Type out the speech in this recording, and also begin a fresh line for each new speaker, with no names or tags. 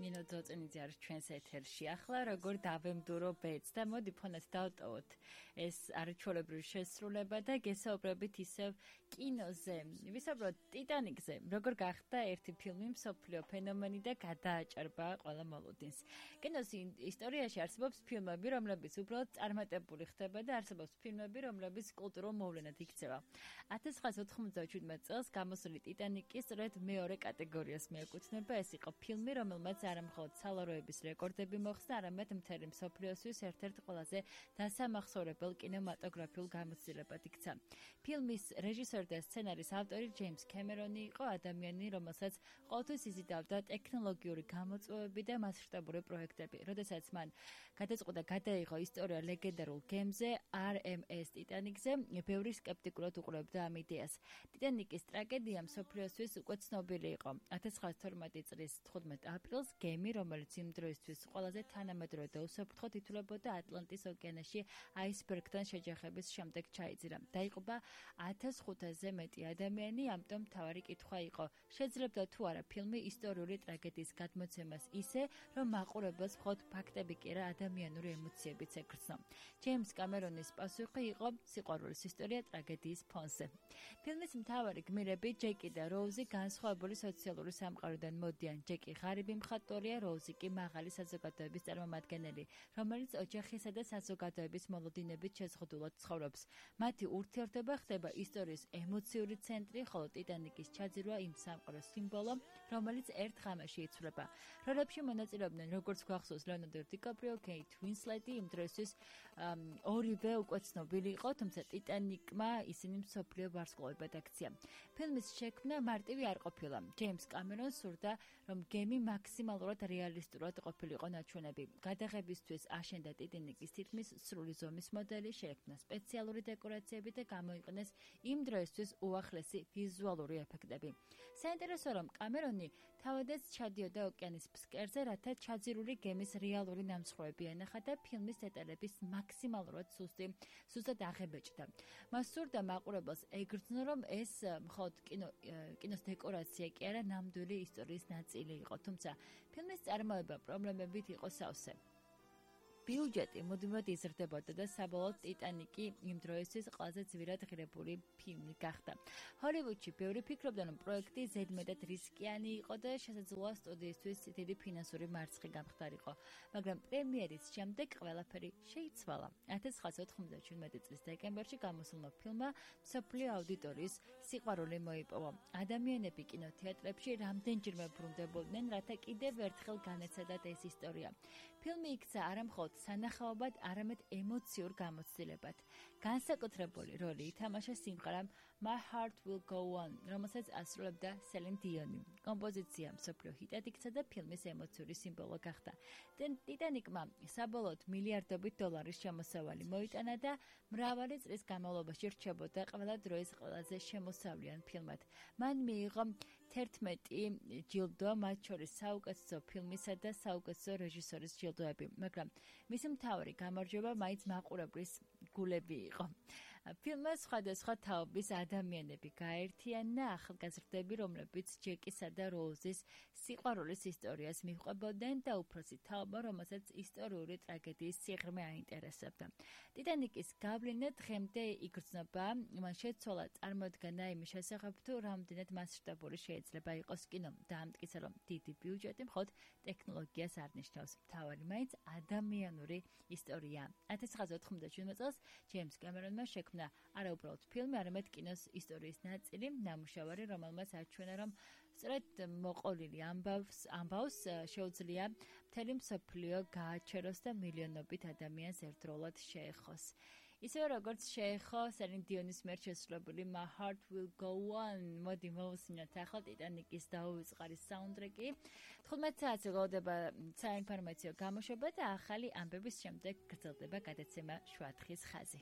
ნინო ძოწენიძე არის ჩვენს ეთერში. ახლა როგორ დავემდურო ბედს და მოდი ფონად დავტოვოთ ეს არაჩვეულებრივი შესრულება და გესაუბრებით ისევ კინოზე. ვისაუბროთ ტიტანიკზე, როგორ გახდა ერთი ფილმი მსოფლიო ფენომენი და გადააჭარბა ყველა მოლოდინს. კინოს ისტორიაში არსებობს ფილმები, რომლებიც უბრალოდ წარმატებული ხდება და არსებობს ფილმები, რომლებიც კულტურულ მოვლენად იქცევა. 1997 წელს გამოსული ტიტანიკი სწორედ მეორე კატეგორიას მიეკუთვნება. ეს იყო ფილმი, რომელმაც არა მხოლოდ სალაროების რეკორდები მოხსნა, არამედ მთელი მსოფლიოსთვის ერთ-ერთ ყველაზე დასამახსოვრებელ კინემატოგრაფიულ გამოცდილებად იქცა. ფილმის რეჟისორი და სცენარის ავტორი ჯეიმს კემერონი იყო ადამიანი, რომელსაც ყოველთვის იზიდავდა ტექნოლოგიური გამოწვევები და მასშტაბური პროექტები. როდესაც მან გადაწყვიტა გადაიღო ისტორია ლეგენდარულ გემზე RMS ტიტანიკზე, ბევრი სკეპტიკურად უყურებდა ამ იდეას. ტიტანიკის ტრაგედია მსოფლიოსთვის უკვე ცნობილი იყო. 1912 წლის 15 აპრილს გემი, რომელიც იმ დროისთვის ყველაზე თანამედროვე და უსაფრთხო ითვლებოდა ატლანტის ოკეანეში აისბერგთან შეჯახების შემდეგ ჩაიძირა. დაიღუპა 1500-ზე მეტი ადამიანი, ამიტომ მთავარი კითხვა იყო, შეძლებდა თუ არა ფილმი ისტორიული ტრაგედიის გადმოცემას ისე, რომ მაყურებელს მხოლოდ ფაქტები კი არა ადამიანური ემოციებიც ეკრძნო. ჯეიმს კამერონის პასუხი იყო სიყვარულის ისტორია ტრაგედიის ფონზე. ფილმის მთავარი გმირები ჯეკი და როუზი განსხვავებული სოციალური სამყაროდან მოდიან. ჯეკი ღარიბი მხატვარია, როუზი კი მაღალი საზოგადოების წარმომადგენელი, რომელიც ოჯახისა და საზოგადოების მოლოდინებით შეზღუდულად ცხოვრობს. მათი ურთიერთობა ხდება ისტორიის ემოციური ცენტრი, ხოლო ტიტანიკის ჩაძირვა იმ სამყაროს სიმბოლო, რომელიც ერთ ღამეში იცვლება. როლებში მონაწილეობდნენ, როგორც გვახსოვს, ლეონარდო დიკაპრიო, კეით უინსლეტი, იმ დროისთვის ორივე უკვე ცნობილი იყო, თუმცა ტიტანიკმა ისინი მსოფლიო ვარსკვლავებად აქცია. ფილმის შექმნა მარტივი არ ყოფილა. ჯეიმს კამერონს სურდა, რომ გემი მაქსიმალურად რეალისტურად ყოფილიყო ნაჩვენები. გადაღებისთვის აშენდა ტიტანიკის თითქმის სრული ზომის მოდელი, შექმნა სპეციალური დეკორაციები და გამოიყენეს იმ დროისთვის უახლესი ვიზუალური ეფექტები. საინტერესო რომ კამერონი თავადაც ჩადიოდა ოკეანის ფსკერზე, რათა ჩაძირული გემის რეალური ნამსხვრევები ენახა და ფილმის დეტალების მაქსიმალურად სუსტად აღებეჭდა. მას სურდა მაყურებელს ეგრძნო, რომ ეს მხოლოდ კინოს დეკორაცია კი არა, ნამდვილი ისტორიის ნაწილი იყო, თუმცა ფილმის წარმოება პრობლემებით იყო სავსე. ბიუჯეტი მუდმივად იზრდებოდა და საბოლოოდ ტიტანიკი იმ დროისთვის ყველაზე ძვირად ღირებული ფილმი გახდა. ჰოლივუდში ბევრი ფიქრობდა, რომ პროექტი ზედმეტად რისკიანი იყო და შესაძლოა სტუდიისთვის დიდი ფინანსური მარცხი გამხდარიყო, მაგრამ პრემიერის შემდეგ ყველაფერი შეიცვალა. 1997 წლის დეკემბერში გამოსულმა ფილმმა მსოფლიო აუდიტორიის სიყვარული მოიპოვა. ადამიანები კინოთეატრებში რამდენჯერმე ბრუნდებოდნენ, რათა კიდევ ერთხელ განეცადათ ეს ისტორია. ფილმი იქცა არა მხოლოდ სანახაობად, არამედ ემოციურ გამოცდილებად. განსაკუთრებული როლი ითამაშა სიმღერამ My Heart Will Go On, რომელსაც ასრულებდა სელინ დიონი. კომპოზიცია მსოფლიო ჰიტად იქცა და ფილმის ემოციური სიმბოლო გახდა. ტიტანიკმა საბოლოოდ მილიარდობით დოლარის შემოსავალი მოიტანა და მრავალი წლის განმავლობაში რჩებოდა ყველა დროის ყველაზე შემოსავლიან ფილმად. მან მიიღო 11 ჯილდო, მათ შორის საუკეთესო ფილმისა და საუკეთესო რეჟისორის ჯილდოები, მაგრამ მისი მთავარი გამარჯვება მაინც მაყურებლის გულები იყო. ფილმმა სხვადასხვა თაობის ადამიანები გაერთიანა, ახალგაზრდები, რომლებიც ჯეკისა და როუზის სიყვარულის ისტორიას მიჰყვებოდნენ და უფროსი თაობა, რომელსაც ისტორიული ტრაგედიის სიღრმე აინტერესებდა. ტიტანიკის გავლენა დღემდე იგრძნობა, მან შეცვალა წარმოდგენა იმის შესახებ, თუ რამდენად მასშტაბური შეიძლება იყოს კინო. დაამტკიცა, რომ დიდი ბიუჯეტი მხოლოდ ტექნოლოგიას არ ნიშნავს. მთავარი მაინც ადამიანური ისტორია. 1997 წელს ჯეიმს კამერონმა შექმნა არა უბრალოდ ფილმი, არამედ კინოს ისტორიის ნაწილი, ნამუშევარი, რომელმაც აჩვენა, რომ სწორედ მოყოლილი ამბავს შეუძლია მთელი მსოფლიო გააჩეროს და მილიონობით ადამიანს ერთდროულად შეეხოს. ისევე როგორც შეეხო სელინ დიონის მიერ შესრულებული My Heart Will Go On. მოდი მოვუსმინოთ ახლა ტიტანიკის დაუვიწყარი საუნდტრეკი. 15 საათზე გლოვდება საინფორმაციო გამოშვება და ახალი ამბების შემდეგ გრძელდება გადაცემა შუათხის ხაზი.